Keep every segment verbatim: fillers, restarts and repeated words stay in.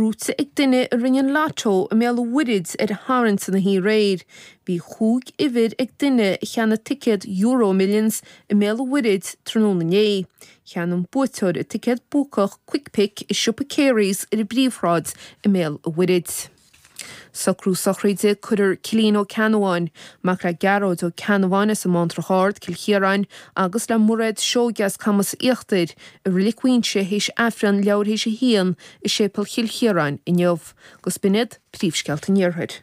Gnóite ag duine a rinne an lotto i mBéal an Mhuirthead ar an Satharn san oíche aréir. Bhí chúig uimhir ag duine a cheannaigh ticéad EuroMillions i mBéal an Mhuirthead tráthnóna inné. Cheannaigh an buaiteoir an ticéad buacach Quick Pick i siopa Carey's ar an bPríomhshráid i mBéal an Mhuirthead. Socrú sochraide Cuirfear Cillian Ó Ceannabháin, mac le Gearóid Ó Ceannabháin as an mBántrach Ard, Cill Chiaráin, agus le Mairéad Seoige as Camas Íochtair, i Reilig Mhuighinse théis Aifreann leathuair théis a haon i Séipéal Chill Chiaráin inniu. Agus b'in iad príomhscéalta an Iarthair.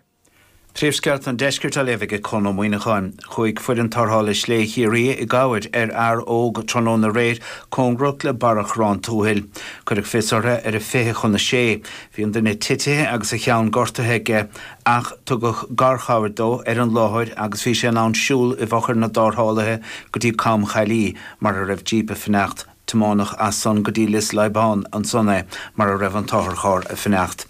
Príomhscéalta an Deiscirt á léamh ag Conn Ó Muíneacháin. Chuaigh foireann tarrthála Slé Chiarraí i gcabhair ar fhear óg tráthnóna aréir cóngarach le Barra Chorrán Tuathail. Cuireadh fios orthu ar a fiche chun a sé. Bhí an duine titithe agus a cheann gortaithe aige ach tugadh garchabhair dó ar an láthair agus bhí sé in ann siúl i bhfochair na dtarrthálaithe go dtí Com Chaillí mar a raibh jíp ag fanacht. Tiomáineadh as san go dtí Lios Liobáin ansan é mar a raibh an t-otharcharr ag fanacht.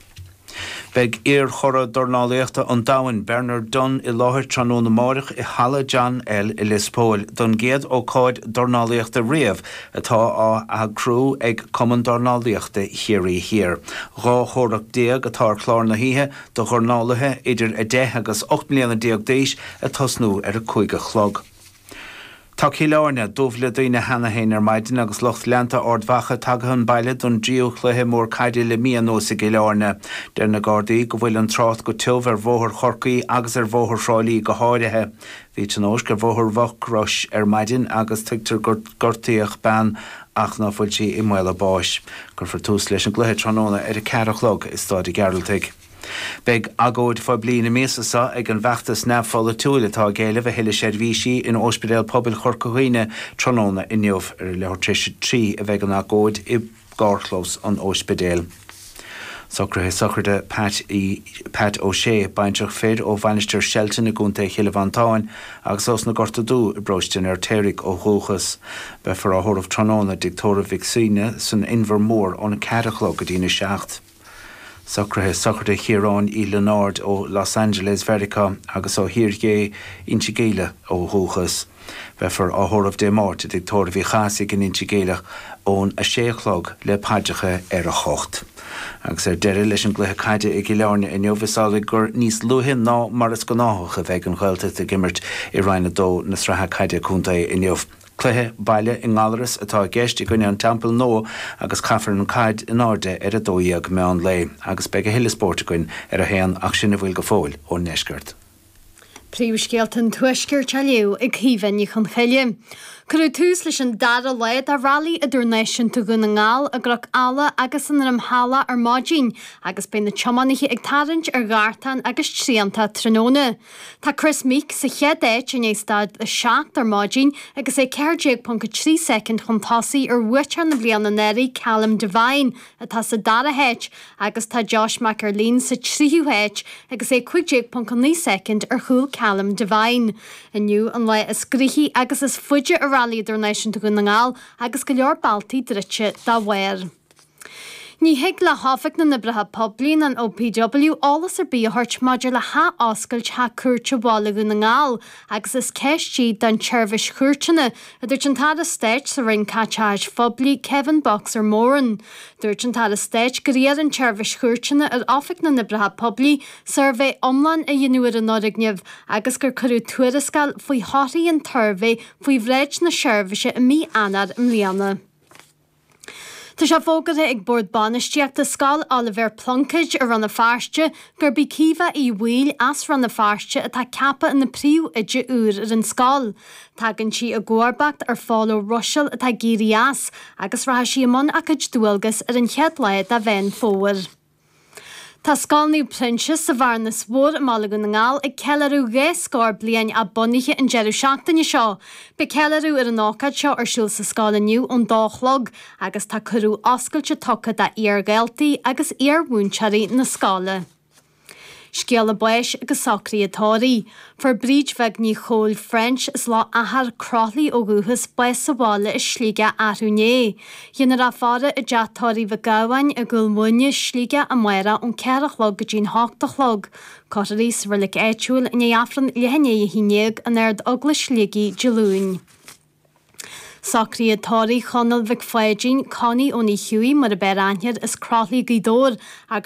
Beidh iar-churadh dornálaíochta an domhain, Bernard Dunne, i láthair tráthnóna amárach i Halla John L i Lios Póil don gcéad ócáid dornálaíochta riamh atá á eagrú ag Cumann Dornálaíochta Chiarraí Thiar. Dhá chomhrac déag atá ar chlár na hoíche do dhornálaithe idir a deich agus ocht mbliana déag d'aois ag tosnú ar a cúig a chlog. Tá Cill Airne dubh le daoine cheana féin ar maidin agus lucht leanta Ard Mhacha tagtha chun baile don dtríú cluiche mór caide le mí anuas i gCill Airne. Deir na Gardaí go bhfuil an trácht go tiubh ar Bhóthar Chorcaí agus ar Bhóthar Thrá Lí go háirithe. Bhí tionóisc ar Bhóthar Mhucrois ar maidin agus tuigtear gur gortaíodh bean ach ná fuil sí i mbaol a báis. Cuirfear tús leis an gcluiche tráthnóna ar a ceathair a chlog i Staid an Ghearaltaigh. Beidh agóid phoiblí na míosa seo ag an bhfeachtas neamhpholaitiúil atá ag éileamh a thuilleadh seirbhísí in Ospidéal Pobail Chorca Dhuibhne tráthnóna inniu. Ar a leathuair tar éis a trí a bheidh an agóid i gcarrchlós an ospidéil. Socruithe sochraide Pat, Pat O'Shea, baintreach fir ó Mhainistir Shelton i gContae Chill Mhantáin agus ós na Gorta Dubh i bparóiste an Fheirtéaraigh ó dhúchas. Beifear á thórramh tráthnóna i dTigh Tórraimh Mhic Suibhne san Inbhear Mór óna ceathair a chlog go dtína seacht. Socruithe sochraide Chiaráin Uí Lionáird ó Los Angeles, Mheiriceá agus ó Thír Gé Inse Geimhle ó dhúchas. Beifear á thórramh Dé Máirt i dTigh Tórraimh Uí Chathasaigh in Inse Geimhle ón a sé a chlog le paidreacha ar a hocht. Agus ar deireadh leis an gcluiche caide i gCill Airne inniu is amhlaidh gur níos luaithe ná mar is gnáthach a bheidh an Ghaeltacht ag imirt i Roinn a dó na sraithe caide contae inniu. Cluiche baile i nGallaras atá i gceist i gcoinne an Teampaill Nua agus caithfear an chaid in airde ar a dó dhéag meán lae, agus beidh a thuilleadh spóirt againn ar a haon ach sin a bhfuil go fóill ón ndeisceart. Príomhscéalta an Tuaiscirt á léamh ag Caoimhe Ní Chonchoille. Cuireadh tús leis an dara lá de Rally Idirnáisiúnta Dhún na nGall i gCnoc Alla agus i nDroim Shalach ar maidin, agus beidh na tiománaithe ag tarraingt ar ghartán agus trianta tráthnóna. Tá Kris Meeke sa chéad áit i ndiaidh staid a seacht ar maidin agus é ceathair déag ponc a trí soicind chun tosaigh ar bhuaiteoir na bliana anuraidh Callum Devine atá sa dara háit agus tá Josh McErlean sa tríú háit agus é cúig déag ponc a naoi soicind ar chúl Callum Devine. Inniu an lá is gnoithí agus is faide i Rally Idirnáisiúnta Dhún na nGall agus go leor bealtaí druidte dá bharr. Ní thig le hOifig na nOibreacha Poiblí an OPW eolas ar bith a thabhairt maidir le hathoscailt Theach Cúirte Bhaile Dhún na nGall agus is ceist í don tseirbhís chúirteanna, a dúirt an tAire Stáit sa Roinn Caiteachais Phoiblí Kevin Boxer Moran. Dúirt an tAire Stáit gur iarr an tseirbhís chúirteanna ar Oifig na nOibreacha Poiblí suirbhé iomlán a dhéanamh ar an fhoirgneamh agus gur cuireadh tuarascáil faoi thorthaí an tsuirbhé faoi bhráid na seirbhíse i mí Eanáir i mbliana. Tá sé fógartha ag Bord Bainistíochta Scoil Oilibhéir Pluincéid i Rann na Feirste gurb í Caoimhe Uí Bhaoill as Rann na Feirste atá ceaptha ina príomhoide úr ar an scoil. Tagann sí i gcomharbacht ar Phól Ó Ruiséil atá ag éirí as agus rachaidh sí i mbun a cuid dualgas ar an chéad lá de Mheán Fómhair. Tá Scoil Naomh Proinsias sa Bhearnas Mhór i mBaile Dhún na nGall ag ceiliúradh dhá scór bliain a bunaithe an deireadh seachtaine seo. Beidh ceiliúradh ar an ócáid seo ar siúl sa scoil inniu ón dó a chlog agus tá cuireadh oscailte tugtha d'iar-dhaltaí agus iar-mhúinteoirí na scoile. Scéala báis agus socruithe tórraimh. Fuair Bríd Bheag Ní Chóil French as Loch Achair, Croithlí ó dhúchas, bás sa bhaile i Sligeach arú inné. Déanfar í a fhaire i dteach tórraimh Mhic Gabhann i gCúil Mhuine, Sligeach amárach ón ceathair a chlog go dtí'n hocht a chlog. Cuirfear í sa reilig áitiúil i ndiaidh Aifreann leath i ndiaidh a haon déag in Ard-Eaglais Shligigh Dé Luain. Socruithe tórraimh Chonaill Mhic Pháidín, Connie Ó Ní Chiúi mar ab fhearr aithne air as Croithlí Gaoth Dobhair,